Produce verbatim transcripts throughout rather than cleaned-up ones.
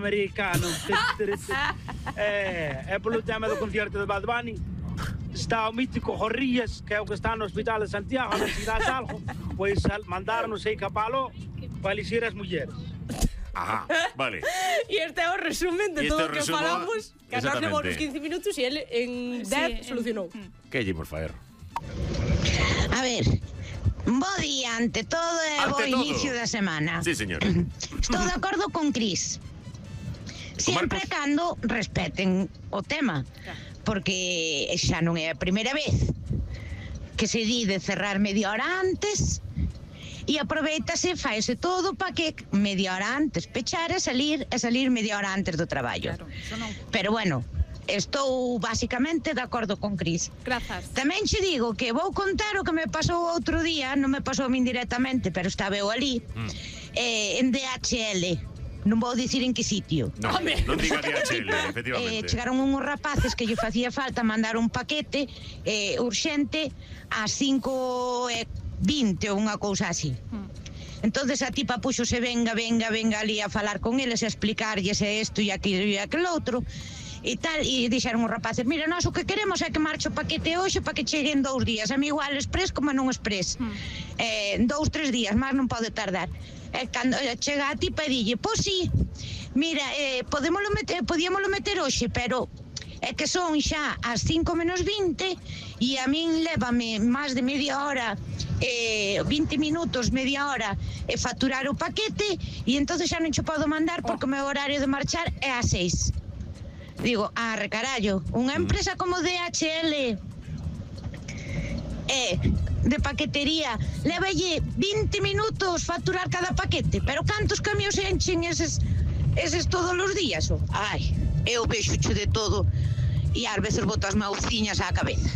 americano. É, é polo tema do concierto de Bad Bunny. Está o mítico Jorrías, que é o que está no Hospital de Santiago, na cidade de Algo, pois mandaron aí capalo para elixir as mulleres. Ajá, vale. E este é o resumen de todo o que resumo, falamos, que nós levou nos quince minutos e ele en dez Sí, solucionou. Que lle por faer? A ver, bo día ante todo e Ante bo todo. inicio da semana. Sí, señor. Estou de acordo con Cris. Sempre Marcos? cando respeten o tema, porque xa non é a primeira vez que se di de cerrar media hora antes e aproveitase, faese todo para que media hora antes pechar e salir e salir media hora antes do traballo. Claro, eso non. Pero bueno, estou basicamente de acordo con Cris. Grazas. Tamén che digo que vou contar o que me pasou outro día, non me pasou a min directamente, pero estaba eu ali, mm. eh, en D H L. Non vou dicir en que sitio. No, non diga D H L, Eh, efectivamente. chegaron unhos rapaces que lle facía falta mandar un paquete eh, urxente ás cinco e vinte ou unha cousa así. Mm. Entonces a tipa puxose venga, venga, venga ali a falar con eles, a explicarlles isto e aquilo e aquel outro e tal, e dixeron os rapaces, mira, nós o que queremos é que marche o paquete hoxe para que cheguen dous días, a mí igual express como non express, Mm. eh, dous, tres días, máis non pode tardar. E cando chega a tipa e dille, pois sí, mira, eh, podémoslo meter, podíamoslo meter hoxe, pero é que son xa as cinco menos vinte e a min lévame máis de media hora, eh, vinte minutos, media hora, e facturar o paquete e entonces xa non che podo mandar porque o meu horario de marchar é ás seis. Digo, ah, recarallo, unha empresa como D H L é de paquetería, lévalle vinte minutos facturar cada paquete, pero cantos camións enchen eses, eses todos os días? Oh? Ai, eu vexocho de todo e ás veces boto as mauciñas á cabeza.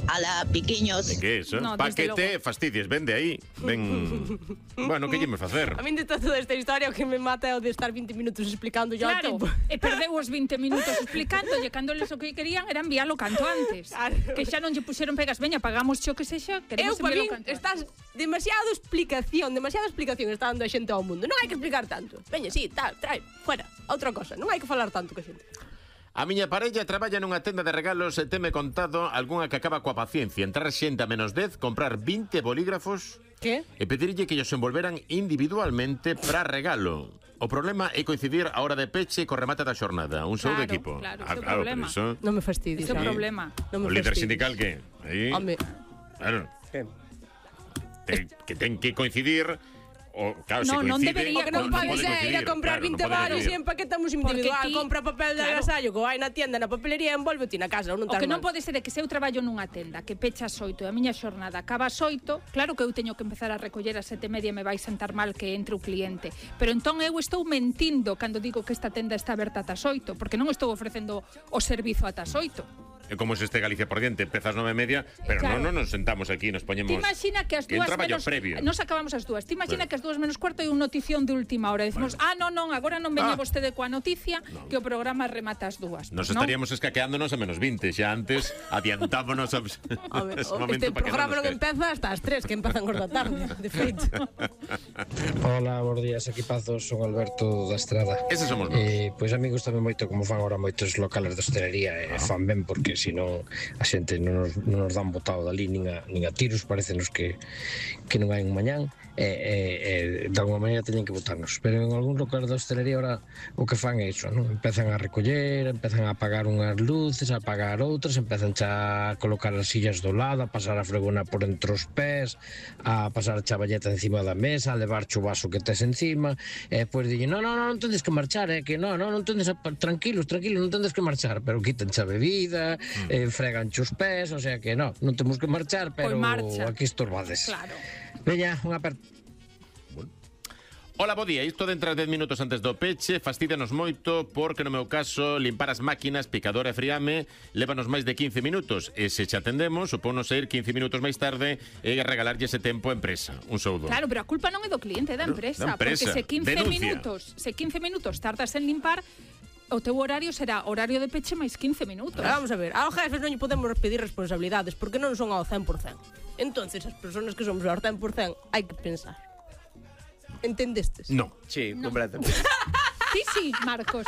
Ala, piquiños. De que eso? No, desde Paquete, fastidies, ven de aí. Ven. Bueno, que lle me facer? A min de toda esta historia o que me mata é o de estar vinte minutos explicando yo Claro, tipo. e perdeu os vinte minutos explicándolle cando eles o que querían era enviálo canto antes. Claro. Que xa non lle puxeron pegas, veña, pagamos xo que sexa, Eu, queremos para min, enviálo canto antes. estás demasiado explicación, demasiada explicación está dando a xente ao mundo. Non hai que explicar tanto. Veña, sí, tal, trae, fuera, outra cosa. Non hai que falar tanto que a xente. A miña parella traballa nunha tenda de regalos e teme contado algunha que acaba coa paciencia. Entrar xente a menos dez, comprar vinte bolígrafos Que? e pedirlle que ellos envolveran individualmente para regalo. O problema é coincidir a hora de peche co remate da xornada. Un show Claro, de equipo. claro, Ah, ese é o claro, problema. pero iso... Non me fastidies. Ese é o eh. problema. Non me O líder fastidies. sindical que? Aí, Home, claro, que? te- que ten que coincidir o, claro, No, se non coincide, debería O que non no podes pode é ir a coincidir, comprar claro, vinte non pode baros e coincidir. empaquetamos Porque individual. ti- Compra papel de claro. agasallo que vai na tienda, na papelería, envolve ti na casa, ou non O tar que non mal. pode ser é que se eu traballo nunha tenda que pecha ás oito e a miña xornada acaba ás oito, claro que eu teño que empezar a recoller ás sete e media e me vai sentar mal que entre o cliente. Pero entón eu estou mentindo cando digo que esta tenda está aberta ata as oito, porque non estou ofrecendo o servizo ata as oito. É como se este Galicia por diante, empezas nove e media, pero Claro. non, non nos sentamos aquí, nos poñemos... Ti imagina que as que dúas un traballo menos previo. nos acabamos as dúas. Ti imagina Bueno. que as dúas menos cuarto hai unha notición de última hora. Decimos, Bueno. ah, non, non, agora non veña Ah. vostede coa noticia No. que o programa remata as dúas. Nos Pues estaríamos escaqueándonos a menos vinte, xa antes adiantámonos a... Home, ese o- momento este para que programa non non nos empeza hasta as tres, que empezan os da tarde, de feito. Hola, bons días, equipazos, son Alberto da Estrada. Ese somos nós. Eh, pois a mí gustame moito como fan agora moitos locales de hostelería e Ah. fan ben porque senón a xente non nos, non nos dan botado dali nin a, nin a tiros, parecenos que, que non hai un mañán e, e, e de alguma maneira teñen que botarnos, pero en algún local de hostelería ahora o que fan é iso, non? Empezan a recoller, empezan a apagar unhas luces, a apagar outras, empezan xa a colocar as sillas do lado, a pasar a fregona por entre os pés, a pasar a chavalleta encima da mesa, a levar o vaso que tes encima, e depois dille, non, non, non, non tendes que marchar, é que non, non, non tendes a, tranquilos, tranquilos, non tendes que marchar, pero quitan xa bebida, mm. eh, fregan os pés, o sea que non, non temos que marchar, pero Pois marcha. aquí estorbades. Claro. Veña, unha aperta. Hola, bo día. Isto de entrar dez minutos antes do peche fastidianos moito porque no meu caso limpar as máquinas, picador e friame lévanos máis de quince minutos e se xa atendemos supónos ir quince minutos máis tarde e regalarlle ese tempo á empresa. Un soudo. Claro, pero a culpa non é do cliente, é da Claro, empresa, da empresa. porque se quince Denuncia. minutos, se quince minutos tardas en limpar, o teu horario será horario de peche máis quince minutos. Pero vamos a ver, aos jefes non lle podemos pedir responsabilidades porque non son ao cen por cen. Entonces, as persoas que somos ao cen por cen hai que pensar. Entendestes? No. Sí, No. completamente. Sí, sí, Marcos.